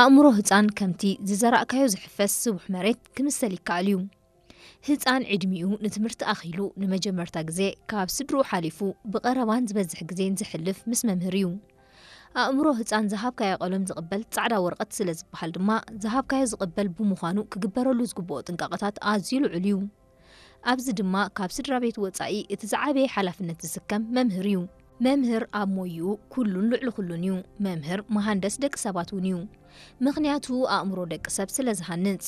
ኣእምሮ ህጻን ከምቲ ዝዘራእካዮ ዝሕፈስ ስቡሕ መሬት ክምሰል ይከኣል እዩ። ህጻን ዕድሚኡ ንትምህርቲ ኣኺሉ ንመጀመርታ ግዜ ካብ ስድርኡ ሓሊፉ ብቐረባን ዝበዝሕ ግዜን ዝሕልፍ ምስ መምህር እዩ። ኣእምሮ ህጻን ዝሃብካዮ ቀለም ዝቕበል ጻዕዳ ወረቐት ስለ ዝበሃል ድማ፣ ዝሃብካዮ ዝቕበል ብምዃኑ ክግበረሉ ዝግብኦ ጥንቃቐታት ኣዝዩ ልዑል እዩ። ኣብዚ ድማ ካብ ስድራ ቤት ወጻኢ እቲ ዝዓበየ ሓላፍነት ዝስከም መምህር እዩ። መምህር ኣብ ሞይኡ ኩሉን ልዕሊ ኩሉን እዩ። መምህር መሃንደስ ደቂ ሰባት እውን እዩ። ምኽንያቱ ኣእምሮ ደቂ ሰብ ስለ ዝሃንጽ።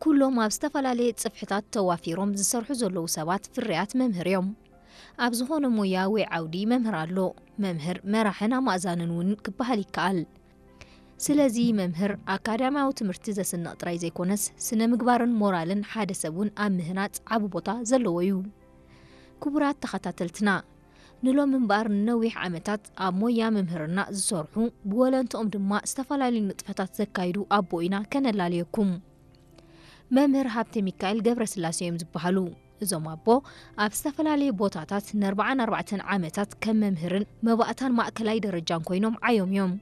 ኩሎም ኣብ ዝተፈላለየ ጽፍሕታት ተዋፊሮም ዝሰርሑ ዘለዉ ሰባት ፍርያት መምህር እዮም። ኣብ ዝኾነ ሞያ ወይ ዓውዲ መምህር ኣሎ። መምህር መራሕን ኣማእዛንን እውን ክበሃል ይከኣል። ስለዚ መምህር ኣካዳሚያዊ ትምህርቲ ዘስንቕ ጥራይ ዘይኮነስ፣ ስነ ምግባርን ሞራልን ሓደ ሰብ እውን ኣብ ምህናጽ ዓቢ ቦታ ዘለዎ እዩ። ክቡራት ተኸታተልትና፣ ንሎሚ እምበኣር ንነዊሕ ዓመታት ኣብ ሞያ መምህርና ዝሰርሑ፣ ብወለንትኦም ድማ ዝተፈላለዩ ንጥፈታት ዘካይዱ ኣቦ ኢና ከነላልየኩም። መምህር ሃብተ ሚካኤል ገብረስላሴ እዮም ዝበሃሉ። እዞም ኣቦ ኣብ ዝተፈላለየ ቦታታት ንኣርባዓን ኣርባዕተን ዓመታት ከም መምህርን መባእታን ማእከላይ ደረጃን ኮይኖም ዓዮም እዮም።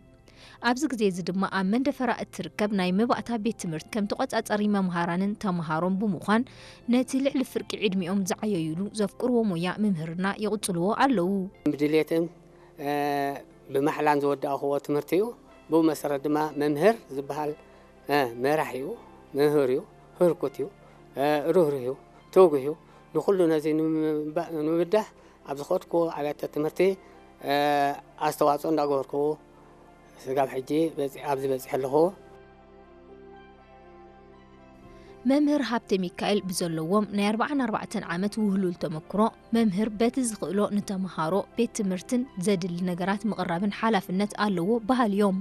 ኣብዚ ግዜ እዚ ድማ ኣብ መንደፈራ እትርከብ ናይ መባእታ ቤት ትምህርቲ ከም ተቖጻጸሪ መምሃራንን ተምሃሮን ብምዃን ነቲ ልዕሊ ፍርቂ ዕድሚኦም ዝዓየዩሉ ዘፍቅርዎ ሞያ ምምህርና ይቕጽልዎ ኣለዉ። ብድሌትን፣ እ፣ ብማሕላን ዝወዳእኽዎ ትምህርቲ እዩ። ብኡ መሰረት ድማ መምህር ዝበሃል፣ እ፣ መራሕ እዩ፣ ምህር እዩ፣ ህርኩት እዩ፣ እ፣ ርህሩህ እዩ፣ ትጉህ እዩ። ንኹሉ ነዚ ንምባ-፣ ንምብዳህ ኣብ ዝኸድኩዎ ኣብያተ ትምህርቲ፣ እ፣ ኣስተዋጽኦ እንዳገበርኩ ስጋብ ሕጂ በጺ-፣ ኣብዚ በጺሐ ኣለኹ። መምህር ሃብተ ሚካኤል ብዘለዎም ናይ ኣርባዓን ኣርባዕተን ዓመት ውህሉል ተመክሮ፣ መምህር በቲ ዝኽእሎ ንተምሃሮ ቤት ትምህርትን ዘድሊ ነገራት ምቕራብን ሓላፍነት ኣለዎ በሃሊ እዮም።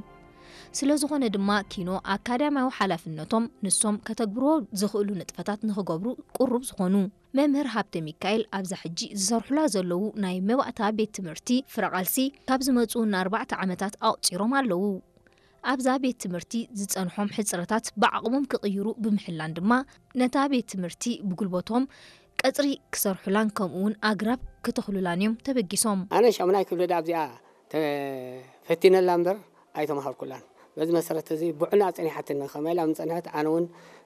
ስለ ዝኾነ ድማ ኪኖ ኣካዳሚያዊ ሓላፍነቶም ንሶም ከተግብርዎ ዝኽእሉ ንጥፈታት ንኽገብሩ ቅሩብ ዝኾኑ። መምህር ሃብተ ሚካኤል ኣብዛ ሕጂ ዝሰርሑላ ዘለዉ ናይ መባእታ ቤት ትምህርቲ ፍረ ቃልሲ ካብ ዝመጹ ንኣርባዕተ ዓመታት ኣቑጺሮም ኣለዉ። ኣብዛ ቤት ትምህርቲ ዝጸንሖም ሕጽረታት ብዓቕሞም ክቕይሩ ብምሕላን ድማ ነታ ቤት ትምህርቲ ብጉልበቶም ቀጽሪ ክሰርሑላን ከምኡውን ኣግራብ ክተኽሉላን እዮም ተበጊሶም። ኣነ ሻሙናይ ክፍሊ ዳ ኣብዚኣ ተፈቲነላ እምበር ኣይተማሃርኩላን። በዚ መሰረት እዚ ብዕና ጸኒሓትኒ። ከመይ ኢላ ምጸንሐት? ኣነ እውን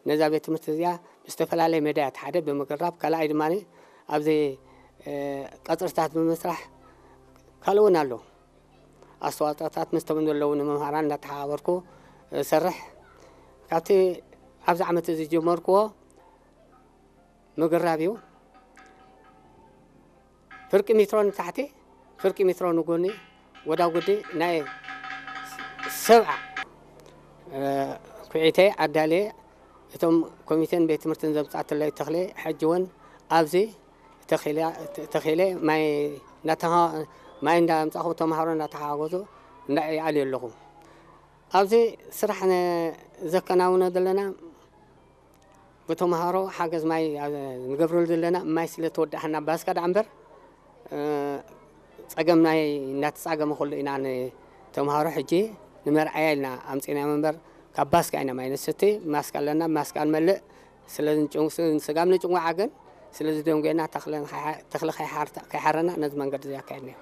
ነዛ ቤት ትምህርቲ እዚኣ ብዝተፈላለየ መዳያት፣ ሓደ ብምግራብ፣ ካልኣይ ድማ ኣብዚ፣ እ፣ ቀጽርታት ብምስራሕ፣ ካልእ እውን ኣሎ። ኣስተዋጽኦታት ምስቶም ዘለዉ ንመምሃራን እናተሓባበርኩ እሰርሕ። ካብቲ ኣብዚ ዓመት እዚ ዝጀመርክዎ ምግራብ እዩ። ፍርቂ ሜትሮ ንታሕቲ፣ ፍርቂ ሜትሮ ንጎኒ፣ ወዳጉዲ ናይ ሰብዓ፣ እ፣ ኩዒተይ ኣዳልየ፣ እቶም ኮሚቴን ቤት ትምህርትን ዘምጻእትለይ ተኽሊ፣ ሕጂ እውን ኣብዚ ተኺለ፣ ተኺለ ማይ እናተኻ-፣ ማይ እንዳምጻኹ ተምሃሮ እናተሓጋገዙ እንዳ-፣ ይኣልዩ ኣለኹ። ኣብዚ ስራሕ ነ-፣ ዘከናውኖ ዘለና ብተምሃሮ ሓገዝ ማይ ኣብ-፣ ንገብረሉ ዘለና ማይ ስለ ተወዳእና ባስካ ደኣ እምበር፣ እ፣ ጸገም ናይ እናተጻገመ ከሎ ኢና ንተምሃሮ ሕጂ ንመርኣያ ኢልና ኣምጺእናዮም እምበር ካብ ባስካ ኢና ማይ ንስቲ። ማስካ ኣለና፣ ማስካ ንመልእ። ስለ ንጭው-፣ ስ-፣ ስጋብ ንጭንዋዓ ግን ስለ ዝደንጎየና ተኽለ ንኸይሓ-፣ ተኽሊ ከይሓርታ-፣ ከይሓረና ነዚ መንገዲ እዚ ኣካየድናዮ።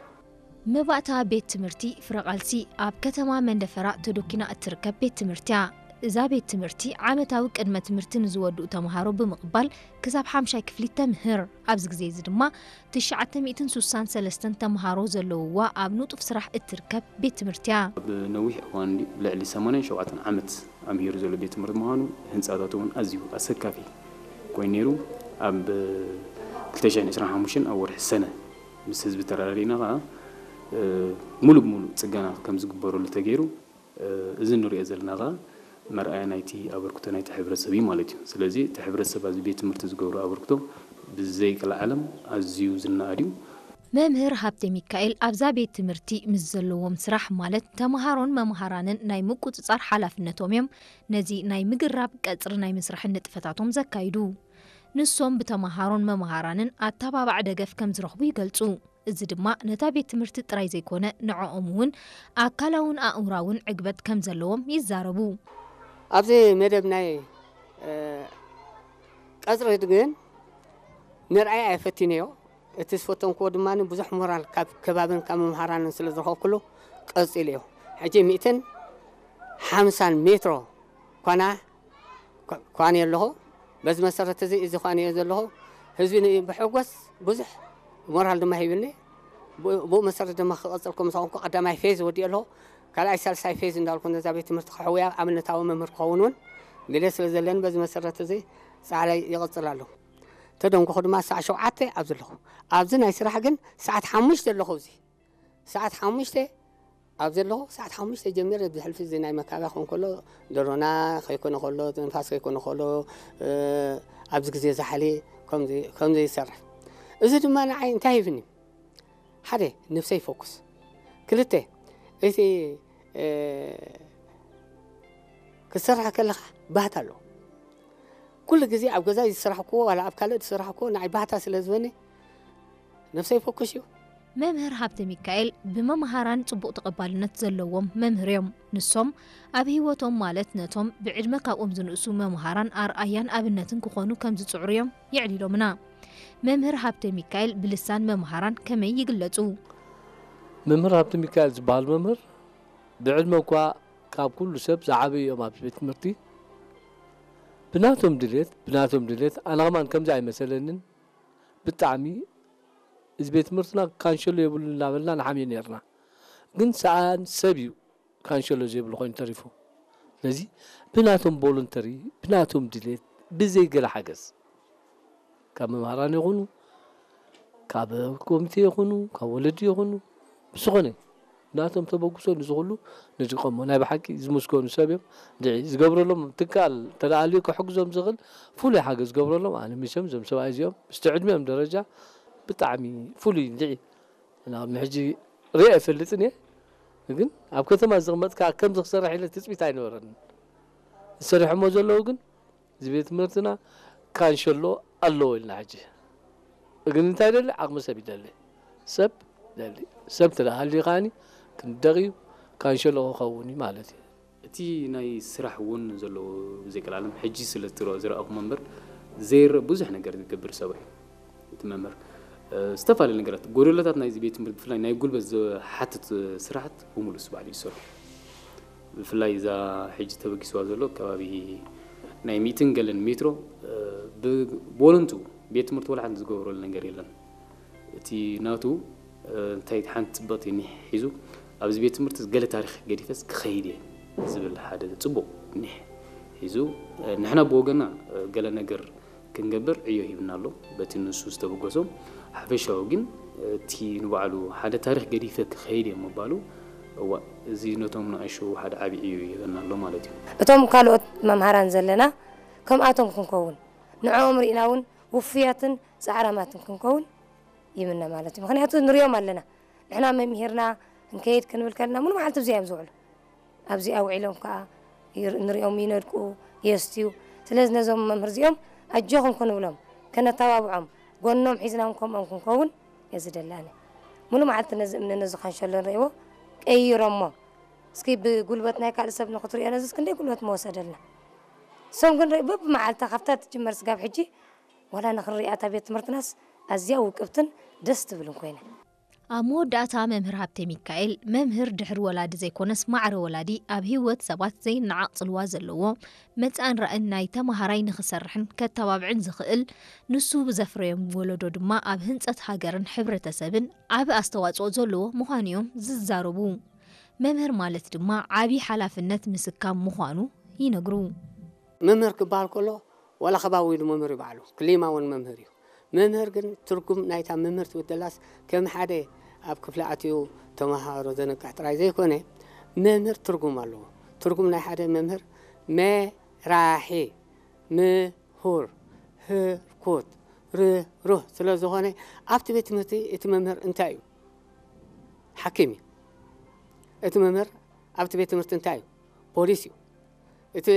መባእታ ቤት ትምህርቲ ፍረ ቃልሲ ኣብ ከተማ መንደፈራ ተዶኪና እትርከብ ቤት ትምህርቲ እያ። እዛ ቤት ትምህርቲ ዓመታዊ ቅድመ ትምህርቲ ንዝወድኡ ተምሃሮ ብምቕባል ክሳብ ሓምሻይ ክፍሊ ተምህር። ኣብዚ ግዜ እዚ ድማ ትሽዓተ ሚእትን ስሳን ሰለስተን ተምሃሮ ዘለውዋ ኣብ ንጡፍ ስራሕ እትርከብ ቤት ትምህርቲ እያ። ኣብ ነዊሕ እዋን ድዩ? ብልዕሊ ሰማንያን ሸውዓተን ዓመት ኣምሂሩ ዘሎ ቤት ትምህርቲ ምዃኑ፣ ህንጻታቱ እውን ኣዝዩ ኣሰካፊ ኮይኑ ነይሩ። ኣብ ክልተ ሽሕን ዕስራን ሓሙሽተን ኣብ ወርሒ ሰነ ምስ ህዝቢ ተረዳዲእና ኸዓ፣ እ፣ ሙሉእ ብሙሉእ ጽገና ከም ዝግበረሉ ተገይሩ፣ እ፣ እዚ ንሪኦ ዘለና ኸዓ መርኣያ ናይቲ ኣበርክቶ ናይቲ ሕብረተሰብ እዩ ማለት እዩ። ስለዚ እቲ ሕብረተሰብ ኣብዚ ቤት ትምህርቲ ዝገብሮ ኣበርክቶ ብዘይቀልዓለም ኣዝዩ ዝነኣድ እዩ። መምህር ሃብተ ሚካኤል ኣብዛ ቤት ትምህርቲ ምስ ዘለዎም ስራሕ ማለት ተምሃሮን መምሃራንን ናይ ምቁጽጻር ሓላፍነቶም እዮም ነዚ ናይ ምግራብ ቀጽሪ ናይ ምስራሕ ንጥፈታቶም ዘካይዱ። ንሶም ብተምሃሮን መምሃራንን ኣተባባዕ ደገፍ ከም ዝረኽቡ ይገልጹ። እዚ ድማ ነታ ቤት ትምህርቲ ጥራይ ዘይኮነ ንዕኦም እውን ኣካላውን ኣእምራውን ዕግበት ከም ዘለዎም ይዛረቡ። ኣብዚ መደብ ናይ፣ እ፣ ቀጽሪ ግን ንርኣይ ኣይፈቲነዮ። እቲ ዝፈተንክዎ ድማ ብዙሕ ሞራል ካብ ከባብን ካብ መምሃራንን ስለ ዝረኸብኩሉ ቀጺለዮ። ሕጂ ሚእትን ሓምሳን ሜትሮ ኳና ኳ- ኳንየ ኣለኹ። በዚ መሰረት እዚ እዚ ኳንየ ዘለኹ ህዝቢ ን- ብሕጎስ ብዙሕ ሞራል ድማ ሂብኒ። ብኡ ብኡ መሰረት ድማ ክቐፅል ከም ዝኾንኩ ቀዳማይ ፌዝ ወዲኦ ኣለኹ። ካልኣይ ሳልሳይ ፌዝ እንዳልኩ ነዛ ቤት ትምህርቲ ክሕውያ ኣብነታዊ መምህር ክኸውን እውን ድሌት ስለ ዘለኒ በዚ መሰረት እዚ ፃዕረይ ይቕፅል ኣለኹ። ተደንጎኹ ድማ ሰዓት ሸውዓተ ኣብዚ ኣለኹ። ኣብዚ ናይ ስራሕ ግን ሰዓት ሓሙሽተ ኣለኹ። እዚ ሰዓት ሓሙሽተ ኣብዚ ኣለኹ። ሰዓት ሓሙሽተ ጀሚረ ብሕልፊ እዚ ናይ መካብያ ክኸውን ከሎ፣ ደሮና ከይኮነ ከሎ፣ ንፋስ ከይኮነ ከሎ፣ ኣብዚ ግዜ ዛሕሊ ከምዚ ይሰርሕ። እዚ ድማ ንዓይ እንታይ ሂብኒ? ሓደ፣ ነብሰይ ፎኩስ። ክልተ፣ እቲ ክትሰርሕ ከለኻ ባህታ ኣለዎ። ኩሉ ግዜ ኣብ ገዛ ዝሰራሕክዎ ዋላ ኣብ ካልእ ዝሰራሕክዎ ንዓይ ባህታ ስለ ዝበኒ ነብሰይ ፎኩስ እዩ። መምህር ሃብተ ሚካኤል ብመምሃራን ጽቡቕ ተቐባልነት ዘለዎም መምህር እዮም። ንሶም ኣብ ህይወቶም ማለት ነቶም ብዕድመ ካብኦም ዝንእሱ መምሃራን ኣርኣያን ኣብነትን ክኾኑ ከም ዝጽዕሩ እዮም የዕሊሎምና። መምህር ሃብተ ሚካኤል ብልሳን መምሃራን ከመይ ይግለጹ? መምህር ሃብተ ሚካኤል ዝበሃል መምህር ብዕድመ እኳ ካብ ኩሉ ሰብ ዝዓበዩ እዮም ኣብዚ ቤት ትምህርቲ። ብናቶም ድሌት ብናቶም ድሌት ኣነ ከማን ከምዚ ኣይመሰለንን። ብጣዕሚ እዚ ቤት ትምህርትና ካንሸሎ የብሉ እናበልና ንሓምዮ ነርና። ግን ሰኣን ሰብ እዩ ካንሸሎ ዘይብሉ ኮይኑ ተሪፉ። ስለዚ ብናቶም ቮሉንተሪ ብናቶም ድሌት ብዘይ ገለ ሓገዝ ካብ መምሃራን ይኹኑ ካብ ኮሚቴ ይኹኑ ካብ ወለዲ ይኹኑ ብዝኾነ ናቶም ተበግሶ ንዝኽሉ ንድቀሞ ናይ ብሓቂ ዝምስገኑ ሰብ እዮም። ድዒ ዝገብረሎም ትካል ተለኣልዩ ክሕግዞም ዝኽእል ፍሉይ ሓገዝ ዝገብረሎም ኣነ ሚሶም እዞም ሰብኣይ እዚኦም ምስቲ ዕድሚኦም ደረጃ ብጣዕሚ ፍሉይ ድዒ ናብ ሕጂ ሪኦ ኣይፈልጥን እየ። ግን ኣብ ከተማ ዝቕመጥካ ከምዚ ክሰርሕ ኢለ ትፅቢት ኣይነበረን። ዝሰሪሖሞ ዘለዉ ግን እዚ ቤት ትምህርትና ካንሸሎ ኣለዎ ኢልና ሕጂ ግን እንታይ ደሊ ዓቕሚ ሰብ ይደሊ ሰብ ደሊ ሰብ ተደሃልዩ ከዓኒ ክንደቕ እዩ ካንሸሎ ክኸውን እዩ ማለት እዩ። እቲ ናይ ስራሕ እውን ዘለዎ ብዘይቀላለም ሕጂ ስለ ዝረኣኹሞ እምበር ዘይረእ ብዙሕ ነገር ዝገብር ሰብ እዩ እቲ መምህር። ዝተፈላለዩ ነገራት ጎደሎታት ናይዚ ቤት ትምህርቲ ብፍላይ ናይ ጉልበት ዝሓትት ስራሕት ብሙሉእ እሱ ባዕሉ ይሰርሑ። ብፍላይ እዛ ሕጂ ተበጊስዋ ዘሎ ከባቢ ናይ ሚእትን ገለን ሜትሮ ብቦለንቱ ቤት ትምህርቲ ወላ ሓንቲ ዝገበረሉ ነገር የለን። እቲ ናቱ እንታይ ሓንቲ ፅብቕቲ ኒሕ ሒዙ ኣብዚ ቤት ትምህርቲ ገለ ታሪክ ገዲፈስ ክኸይድ እየ ዝብል ሓደ ፅቡቕ ኒሕ ሒዙ ንሕና ብወገና ገለ ነገር ክንገብር ዕዮ ሂብና ኣሎ በቲ ንሱ ዝተበገሶ። ሓፈሻዊ ግን እቲ ንባዕሉ ሓደ ታሪክ ገዲፈ ክኸይድ እየ ምባሉ እዋ እዚ ነቶም ንኣሽቱ ሓደ ዓቢ ዕዮ ይህበና ኣሎ ማለት እዩ። እቶም ካልኦት መምሃራን ዘለና ከምኣቶም ክንከውን ንዕኦም ርኢና እውን ውፉያትን ፃዕራማትን ክንከውን ይምነ ማለት እዩ። ምክንያቱ ንሪኦም ኣለና። ንሕና መምሂርና ክንከይድ ክንብል ከለና ሙሉ መዓልቲ ኣብዚኣ እዮም ዝውዕሉ። ኣብዚኣ ውዒሎም ከዓ ንሪኦም ይነድቁ፣ የስትዩ። ስለዚ ነዞም መምህር እዚኦም ኣጆኹም ክንብሎም፣ ከነተባብዖም፣ ጎኖም ሒዝና እውን ከምኦም ክንከውን እየ ዝደሊ ኣነ። ሙሉ መዓልቲ ነዚ እምኒ ነዚ ካንሸሎ ንሪእዎ ቀይሮሞ። እስኪ ብጉልበት ናይ ካልእ ሰብ ንክትሪኦ ነዚ ክንደይ ጉልበት ምወሰደልና። እሶም ግን በብመዓልታ ካብታ ትጅመር ስጋብ ሕጂ ዋላ ንኽንሪኣ እታ ቤት ትምህርትናስ ኣዝያ ውቅብትን ደስ ትብልን ኮይና። ኣብ መወዳእታ መምህር ሃብተ ሚካኤል፣ መምህር ድሕሪ ወላዲ ዘይኮነስ ማዕረ ወላዲ ኣብ ህይወት ሰባት ዘይነዓቕ ጽልዋ ዘለዎ መጻእን ራእን ናይ ተመሃራይ ንኽሰርሕን ከታባብዕን ዝኽእል፣ ንሱ ብዘፍረዮም ወለዶ ድማ ኣብ ህንጸት ሃገርን ሕብረተሰብን ዓቢ ኣስተዋጽኦ ዘለዎ ምዃኑ እዮም ዝዛረቡ። መምህር ማለት ድማ ዓቢ ሓላፍነት ምስካም ምዃኑ ይነግሩ። መምህር ክበሃል ከሎ ዋላ ከባቢ ኢሉ መምህር እዩ ባዕሉ ክሊማ እውን መምህር እዩ። መምህር ግን ትርጉም ናይታ መምህር ትብል ዘላስ ከም ሓደ ኣብ ክፍሊ ኣትዩ ተመሃሮ ዘንቅሕ ጥራይ ዘይኮነ መምህር ትርጉም ኣለዎ። ትርጉም ናይ ሓደ መምህር መራሒ፣ ምሁር፣ ህርኩት፣ ርህሩህ ስለ ዝኾነ ኣብቲ ቤት ትምህርቲ እቲ መምህር እንታይ እዩ? ሓኪም እዩ። እቲ መምህር ኣብቲ ቤት ትምህርቲ እንታይ እዩ? ፖሊስ እዩ።